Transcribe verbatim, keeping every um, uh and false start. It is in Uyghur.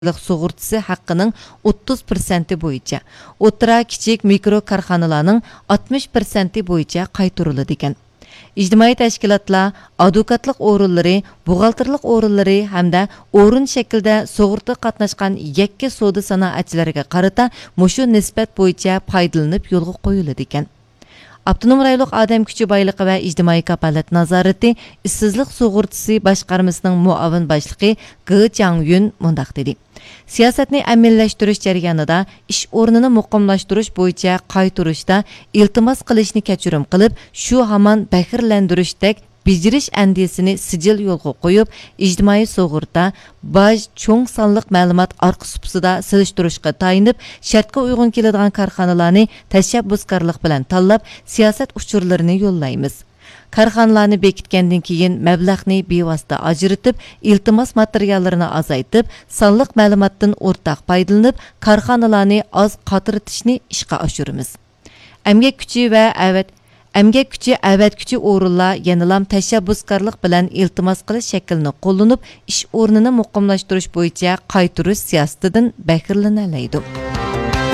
سۇغۇرتىسى ھەققىنىڭ ئوتتۇز پىرسەنتى بويىچە، ئوتتۇرا، كىچىك، مىكرو كارخانىلارنىڭ ئاتمىش پىرسەنتى بويىچە قايتۇرۇلىدىكەن. ئىجتىمائىي تەشكىلاتلار، ئادۋوكاتلىق ئورۇنلىرى، بوغالتىرلىق ئورۇنلىرى ھەمدە ئورۇن شەكلىدە سۇغۇرتىغا قاتناشقان يەككە سودا سانائەتچىلىرىگە قارىتا مۇشۇ نىسبەت بويىچە پايدىلىنىپ يولغا قويۇلىدىكەن. ئاپتونوم رايونلۇق ئادەم كۈچى بايلىقى ۋە ئىجتىمائىي كاپالەت نازارىتى ئىشسىزلىق سۇغۇرتىسى باشقارمىسىنىڭ مۇئاۋىن باشلىقى گې جاڭيۈن مۇنداق دېدى: سىياسەتنى ئەمەلىيلەشتۈرۈش جەريانىدا ئىش ئورنىنى مۇقىملاشتۇرۇش بويىچە قايتۇرۇشتا ئىلتىماس قىلىشنى كەچۈرۈم قىلىپ، شۇ ھامان بەھرىلەندۈرۈشتەك بېجىرىش ئەندىزىسىنى سىجىل يولغا قويۇپ، ئىجتىمائىي سۇغۇرتا، باج، چوڭ سانلىق مەلۇمات ئارقا سۇپىسىدا سېلىشتۇرۇشقا تايىنىپ، شەرتكە ئۇيغۇن كېلىدىغان كارخانىلارنى تەشەببۇسكارلىق بىلەن تاللاپ، سىياسەت ئۇچۇرلىرىنى يوللايمىز. كارخانىلارنى بېكىتكەندىن كېيىن، مەبلەغنى بىۋاسىتە ئاجرىتىپ، ئىلتىماس ماتېرىياللىرىنى ئازايتىپ، سانلىق مەلۇماتتىن ئورتاق پايدىلىنىپ، كارخانىلارنى ئاز قاترىتىشنى ئىشقا ئاشۇرىمىز. ئەمگەك كۈچى ۋە ئەۋەت-، ئەمگەك كۈچى ئەۋەتكۈچى ئورۇنلار يەنىلا تەشەببۇسكارلىق بىلەن ئىلتىماس قىلىش شەكلىنى قوللىنىپ، ئىش ئورنىنى مۇقىملاشتۇرۇش بويىچە قايتۇرۇش سىياسىتىدىن بەھرىلىنەلەيدۇ.